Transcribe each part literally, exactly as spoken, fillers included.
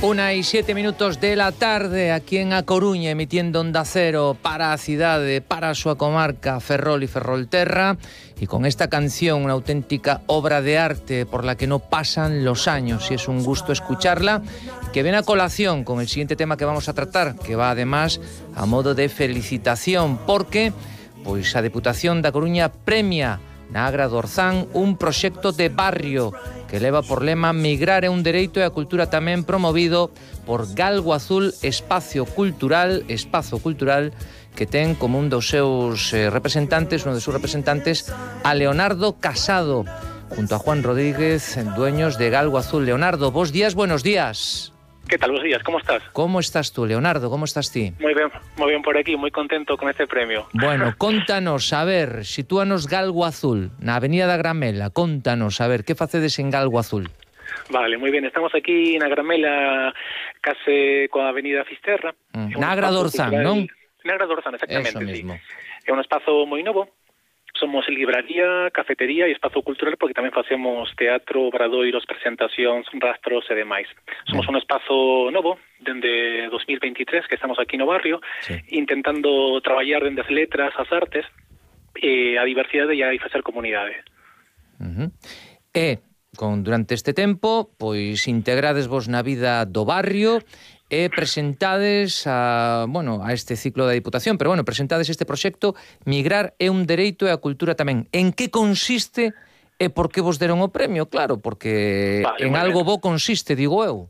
Una y siete minutos de la tarde aquí en A Coruña, emitiendo Onda Cero para a cidade, para a súa comarca Ferrol e Ferrolterra, y con esta canción, una auténtica obra de arte por la que no pasan los años, y es un gusto escucharla, que viene a colación con el siguiente tema que vamos a tratar, que va además a modo de felicitación, porque pois a Deputación da Coruña premia na Agra do Orzán un proxecto de barrio que leva por lema Migrar é un dereito e a cultura tamén, promovido por Galgo Azul Espacio Cultural, Espazo Cultural, que ten como un dos seus eh, representantes, un dos seus representantes, a Leonardo Casado, junto a Juan Rodríguez, dueños de Galgo Azul. Leonardo, bos días, buenos días. ¿Qué tal? Buenos días, ¿cómo estás? ¿Cómo estás tú, Leonardo? ¿Cómo estás ti? Muy bien, muy bien por aquí, muy contento con este premio. Bueno, contanos, a ver, sitúanos Galgo Azul, na Avenida da Gramela, contanos, a ver, que facedes en Galgo Azul? Vale, muy bien, estamos aquí na Gramela, case coa Avenida Fisterra. Mm. Na Agra do Orzán, non? Na Agra do Orzán, exactamente, Eso mismo. Sí. É un espazo moi novo. Somos libraría, cafetería e espazo cultural, porque tamén facemos teatro, obradoiros, presentacións, rastros e demais. Somos un espazo novo, dende dos mil veintitrés, que estamos aquí no barrio, sí, intentando traballar dende as letras, as artes, e a diversidade e a facer comunidade. Uh-huh. E, con, durante este tempo, pois integrades vos na vida do barrio e presentades a, bueno, a este ciclo da Diputación, pero bueno, presentades este proxecto Migrar é un dereito e a cultura tamén. En que consiste e por que vos deron o premio? Claro, porque vale, en algo bo consiste, digo eu.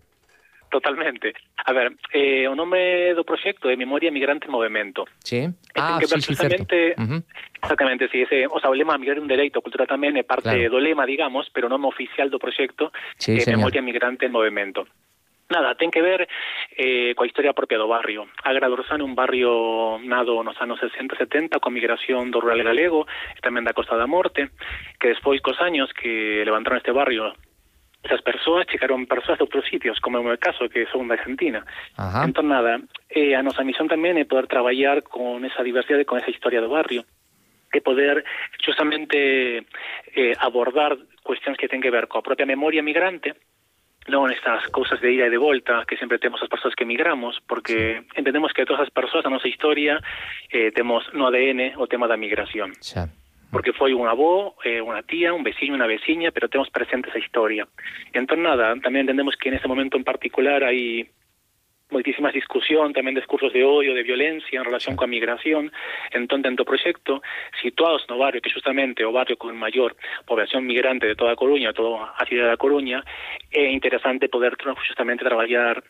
Totalmente. A ver, eh, o nome do proxecto é Memoria Migrante en Movemento. Sí. Ah, que sí, sí, certo. Uh-huh. Exactamente, sí, ese, o sea, o lema Migrar é un dereito, a cultura tamén é parte claro. do lema, digamos, pero o nome oficial do proxecto sí, é señor. Memoria Migrante en Movemento. Nada, ten que ver eh, coa historia propia do barrio. Agra do Orzán é un barrio nado nos anos sesenta e setenta, con migración do rural galego e tamén da Costa da Morte, que despois cos años que levantaron este barrio, esas persoas chegaron persoas de outros sitios, como é o meu caso, que son da Argentina. Ajá. Entón, nada, eh, a nosa misión tamén é poder traballar con esa diversidade, con esa historia do barrio, e poder justamente eh, abordar cuestións que ten que ver coa propia memoria migrante, non estas cousas de ida e de volta que sempre temos as persoas que emigramos, porque sí, entendemos que todas as persoas a nosa historia eh, temos no A D N o tema da migración. Sí. Porque foi un avó, eh, unha tía, un veciño, unha veciña, pero temos presente esa historia. Entón, nada, tamén entendemos que en ese momento en particular hai moitísimas discusión, tamén discursos de odio, de violencia en relación coa migración. Entón, dentro do proxecto, situados no barrio, que justamente o barrio con maior población migrante de toda a Coruña, toda a cidade da Coruña, é interesante poder justamente traballar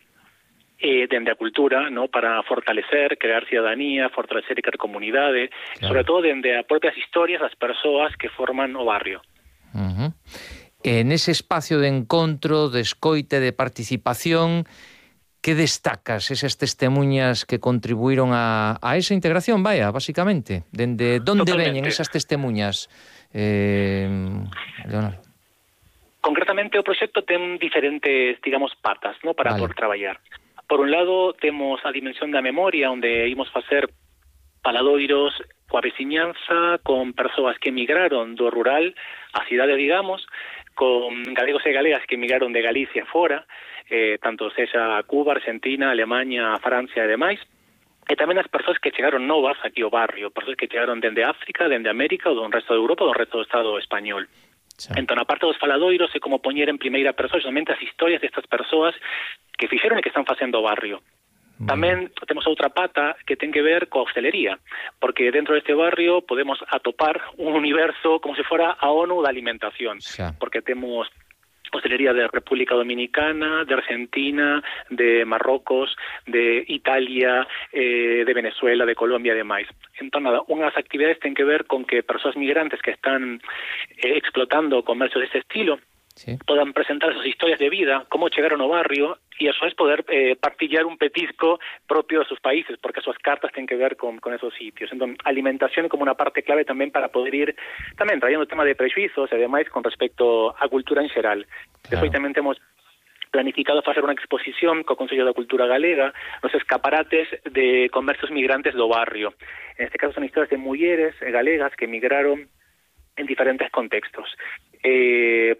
eh, dende a cultura, ¿no?, para fortalecer, crear ciudadanía, fortalecer e crear comunidade, claro, sobre todo dende as propias historias das persoas que forman o barrio. Uh-huh. En ese espacio de encontro, de escoite, de participación, que destacas esas testemunhas que contribuíron a, a esa integración, vaya, basicamente? Dende donde veñen esas testemunhas, eh, Leonardo? Concretamente, o proxecto ten diferentes, digamos, patas, ¿no?, para vale. poder traballar. Por un lado, temos a dimensión da memoria, onde imos facer paladoiros coa veciñanza, con persoas que emigraron do rural á cidade, digamos, con galegos e galegas que emigraron de Galicia fora, eh, tanto sexa a Cuba, Argentina, Alemanha, Francia e demais, e tamén as persoas que chegaron novas aquí ao barrio, persoas que chegaron dende África, dende América, ou do resto de Europa, ou do resto do Estado español. Sí. Entón, a parte dos faladoiros, é como poñer en primeira persoa xamente as historias destas persoas que fixeron e que están facendo o barrio. Tamén temos outra pata que ten que ver coa hostelería, porque dentro deste barrio podemos atopar un universo como se fora a ONU da alimentación, sí, porque temos hostelería de República Dominicana, de Argentina, de Marrocos, de Italia, eh, de Venezuela, de Colombia e demais. Entón, nada, unhas actividades ten que ver con que persoas migrantes que están eh, explotando o comercio deste estilo, sí, podan presentar sus historias de vida, como chegaron ao barrio, e a súa vez poder eh, partillar un petisco propio de sus países, porque as súas cartas ten que ver con, con esos sitios. Entón, alimentación é como unha parte clave tamén para poder ir tamén trayendo o tema de prexuizos e demais con respecto á cultura en xeral. Claro. Despois tamén temos planificado facer unha exposición co Consello da Cultura Galega nos escaparates de comercios migrantes do barrio. En este caso son historias de mulleres galegas que emigraron en diferentes contextos. Eh,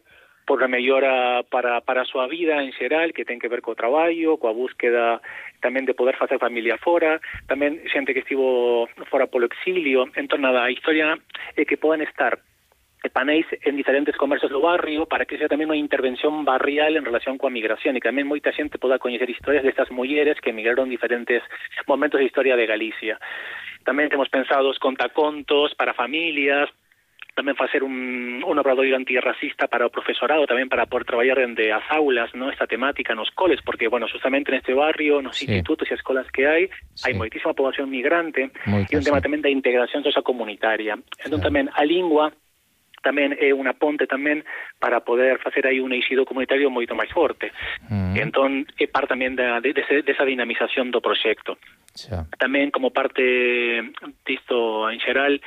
por a mellora para, para a súa vida en xeral, que ten que ver co traballo, coa búsqueda tamén de poder facer familia fora, tamén xente que estivo fora polo exilio. Entón, nada, a historia é que poden estar panéis en diferentes comercios do barrio para que sea tamén unha intervención barrial en relación coa migración e que tamén moita xente poda coñecer historias destas mulleres que emigraron en diferentes momentos da historia de Galicia. Tamén temos pensado os contacontos para familias, tamén facer un, un obradoiro antirracista para o profesorado, tamén para poder traballar dende as aulas, ¿no? Esta temática nos coles, porque, bueno, justamente neste barrio, nos sí. institutos e escolas que hai, sí. hai moitísima población migrante Moita, e un tema sí. tamén da integración sociocomunitaria. Entón, sí. tamén a lingua tamén é unha ponte tamén para poder facer aí un eixido comunitario moito máis forte. Mm. Entón, é parte tamén da, de, de, desa dinamización do proxecto. Yeah. Tamén, como parte disto en xeral,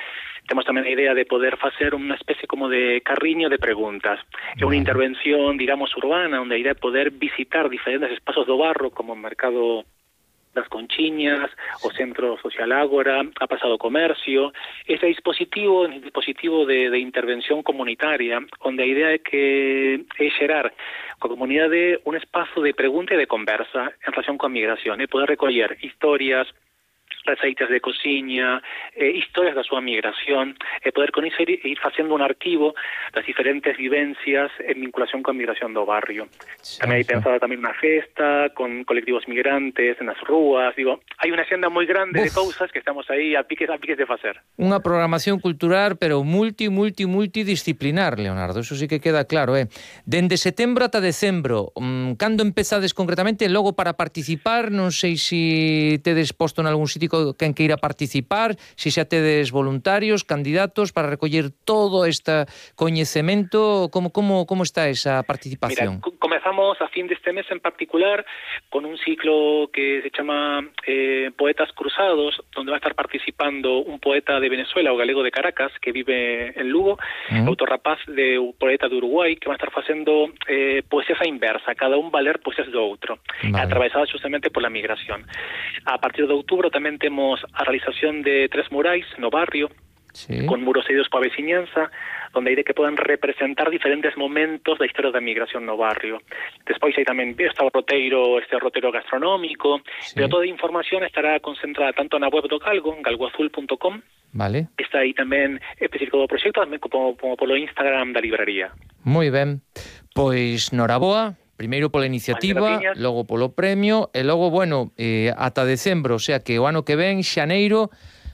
temos tamén a idea de poder facer unha especie como de carriño de preguntas. É unha intervención, digamos, urbana, onde a idea é poder visitar diferentes espazos do barro, como o mercado das Conchiñas, o Centro Social Ágora, a Pasado Comercio. Ese dispositivo, un dispositivo de, de intervención comunitaria, onde a idea é que é xerar coa comunidade un espazo de pregunta e de conversa en relación coa migración, e poder recoller historias, receitas de cociña, eh, historias da súa migración, e poder con iso ir, ir facendo un arquivo das diferentes vivencias en vinculación coa migración do barrio. Sí, tamén hai sí. pensado tamén unha festa con colectivos migrantes nas rúas, digo, hai unha xenda moi grande Uf. de cousas que estamos aí a piques a piques de facer. Unha programación cultural, pero multi, multi, multidisciplinar, Leonardo, eso sí que queda claro, eh. Dende setembro ata decembro, um, cando empezades concretamente, logo para participar, non sei se tedes posto en algún sitio quen que ir a participar, se xa tedes voluntarios, candidatos para recoller todo este coñecemento, como como como está esa participación? Mira, comezamos a fin deste mes en particular con un ciclo que se chama eh, Poetas Cruzados, donde va a estar participando un poeta de Venezuela, o galego de Caracas, que vive en Lugo, uh-huh. outro rapaz de un poeta de Uruguai, que va a estar facendo eh, poesías a inversa, cada un va a ler poesías do outro, vale. atravesadas justamente pola migración. A partir de outubro tamén temos a realización de tres murais no barrio, sí. con muros cedidos pola veciñanza, onde hai de que podan representar diferentes momentos da historia da migración no barrio. Despois hai tamén este roteiro, este roteiro gastronómico, sí. pero toda a información estará concentrada tanto na web do Galgo, galgo azul punto com, vale. está aí tamén específico do proxecto, tamén como, como polo Instagram da libraría. Moi ben, pois noraboa, primeiro pola iniciativa, logo polo premio, e logo, bueno, eh, ata decembro, o sea que o ano que ven, xaneiro,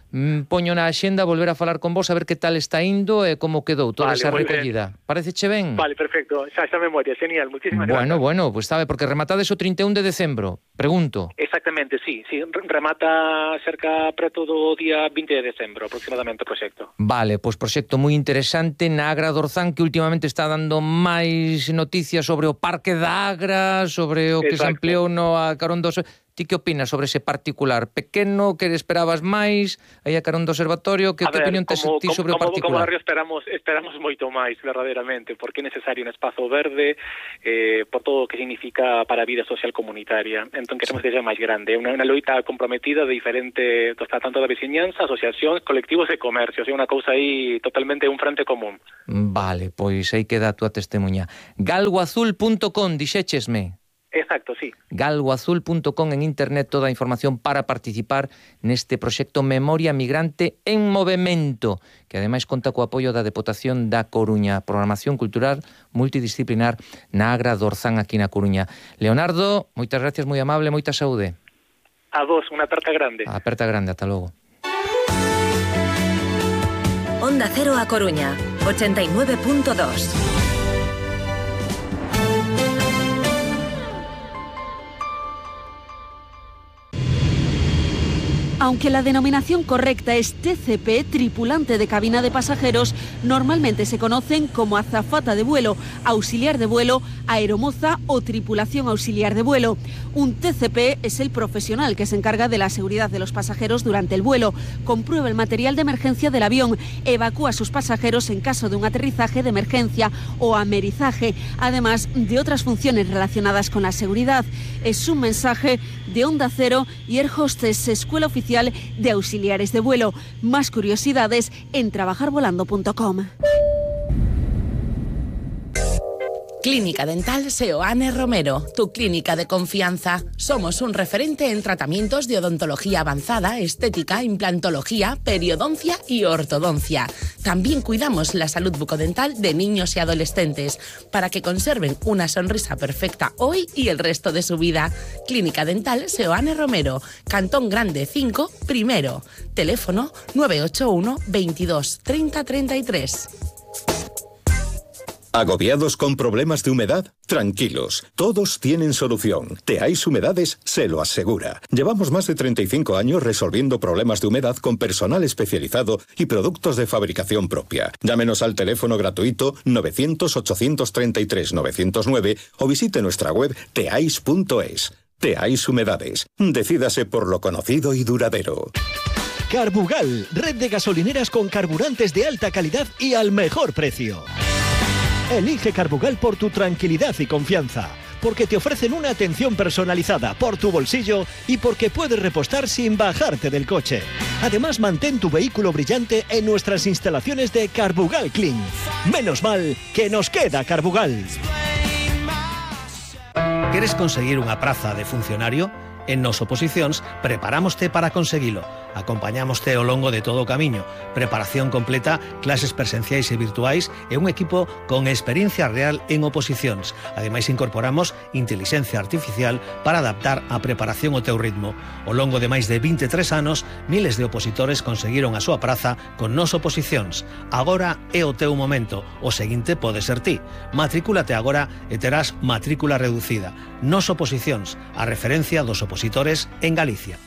mm, poño na axenda volver a falar con vos a ver que tal está indo e como quedou toda vale, esa recollida. Paréceche ben? Vale, perfecto, xa xa memoria, genial, muchísimas bueno, gracias. Bueno, bueno, pues sabe, porque rematades o trinta e un de decembro, pregunto. Exactamente, sí, sí, remata cerca preto do día vinte de decembro aproximadamente o proxecto. Vale, pois pues proxecto moi interesante na Agra do Orzán, que últimamente está dando máis noticias sobre o Parque da Agra, sobre o que Exacto. se ampliou no a carón dos... Ti que opinas sobre ese particular? Pequeno, que esperabas máis, aí a carón do observatorio, que, que opinión tes ti sobre como, o particular? Como barrio esperamos esperamos moito máis, verdadeiramente, porque é necesario un espazo verde eh, por todo o que significa para a vida social comunitaria. Entón queremos sí. que sexa máis grande, unha, unha loita comprometida de diferente, tanto da veciñanza, asociacións, colectivos de comercio, é unha cousa aí totalmente un frente común. Vale, pois aí queda a túa testemunha. galgo azul punto com, dixéchesme. Exacto, sí. galgo azul punto com en internet, toda a información para participar neste proxecto Memoria Migrante en Movemento, que ademais conta co apoio da Deputación da Coruña, programación cultural multidisciplinar na Agra do Orzán aquí na Coruña. Leonardo, moitas gracias, moi amable, moita saúde. A vos, unha aperta grande. A aperta grande, ata logo. Onda Cero a Coruña, ochenta y nueve punto dos. Aunque la denominación correcta es T C P, tripulante de cabina de pasajeros, normalmente se conocen como azafata de vuelo, auxiliar de vuelo, aeromoza o tripulación auxiliar de vuelo. Un T C P es el profesional que se encarga de la seguridad de los pasajeros durante el vuelo, comprueba el material de emergencia del avión, evacúa a sus pasajeros en caso de un aterrizaje de emergencia o amerizaje, además de otras funciones relacionadas con la seguridad. Es un mensaje de Onda Cero y Air Hostess, Escuela Oficial de Auxiliares de Vuelo. Más curiosidades en trabajar volando punto com. Clínica Dental Seoane Romero, tu clínica de confianza. Somos un referente en tratamientos de odontología avanzada, estética, implantología, periodoncia y ortodoncia. También cuidamos la salud bucodental de niños y adolescentes para que conserven una sonrisa perfecta hoy y el resto de su vida. Clínica Dental Seoane Romero, Cantón Grande cinco, primero. Teléfono nueve ocho uno, veintidós, treinta, treinta y tres. ¿Agobiados con problemas de humedad? Tranquilos, todos tienen solución. Teáis Humedades se lo asegura. Llevamos más de treinta y cinco años resolviendo problemas de humedad con personal especializado y productos de fabricación propia. Llámenos al teléfono gratuito novecientos, ochocientos treinta y tres, novecientos nueve o visite nuestra web teais punto es. Teáis Humedades. Decídase por lo conocido y duradero. Carbugal, red de gasolineras con carburantes de alta calidad y al mejor precio. Elige Carbugal por tu tranquilidad y confianza, porque te ofrecen una atención personalizada por tu bolsillo y porque puedes repostar sin bajarte del coche. Además, mantén tu vehículo brillante en nuestras instalaciones de Carbugal Clean. Menos mal que nos queda Carbugal. ¿Quieres conseguir unha praza de funcionario? En Nos Oposicións preparámoste para conseguilo. Acompañámoste ao longo de todo o camiño. Preparación completa, clases presenciais e virtuais e un equipo con experiencia real en oposicións. Ademais, incorporamos intelixencia artificial para adaptar a preparación ao teu ritmo. Ao longo de máis de vinte e tres anos, miles de opositores conseguiron a súa praza con Nos Oposicións. Agora é o teu momento. O seguinte pode ser ti. Matricúlate agora e terás matrícula reducida. Nos Oposicións, a referencia dos opositores en Galicia.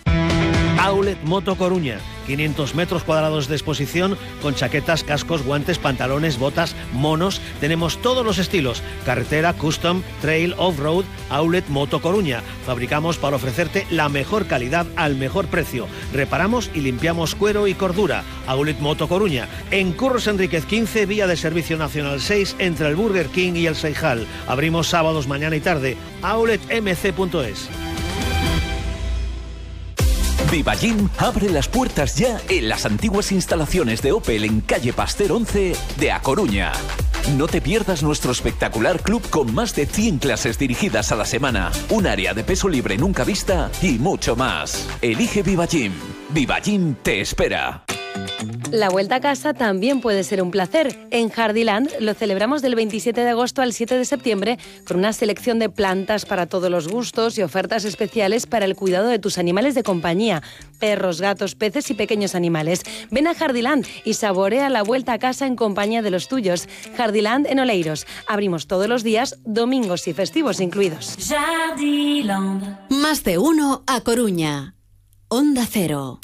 Outlet Moto Coruña, quinientos metros cuadrados de exposición con chaquetas, cascos, guantes, pantalones, botas, monos. Tenemos todos los estilos: carretera, custom, trail, off-road. Outlet Moto Coruña. Fabricamos para ofrecerte la mejor calidad al mejor precio. Reparamos y limpiamos cuero y cordura. Outlet Moto Coruña. En Curros Enríquez quince, vía de Servicio Nacional seis, entre el Burger King y el Seijal. Abrimos sábados, mañana y tarde. outlet m c punto es. Vivagym abre las puertas ya en las antiguas instalaciones de Opel en calle Pasteur once de A Coruña. No te pierdas nuestro espectacular club con más de cien clases dirigidas a la semana, un área de peso libre nunca vista y mucho más. Elige Vivagym. Vivagym te espera. La vuelta a casa también puede ser un placer. En Jardiland lo celebramos del veintisiete de agosto al siete de septiembre con una selección de plantas para todos los gustos y ofertas especiales para el cuidado de tus animales de compañía, perros, gatos, peces y pequeños animales. Ven a Jardiland y saborea la vuelta a casa en compañía de los tuyos. Jardiland en Oleiros. Abrimos todos los días, domingos y festivos incluidos. Jardiland. Más de uno A Coruña. Onda Cero.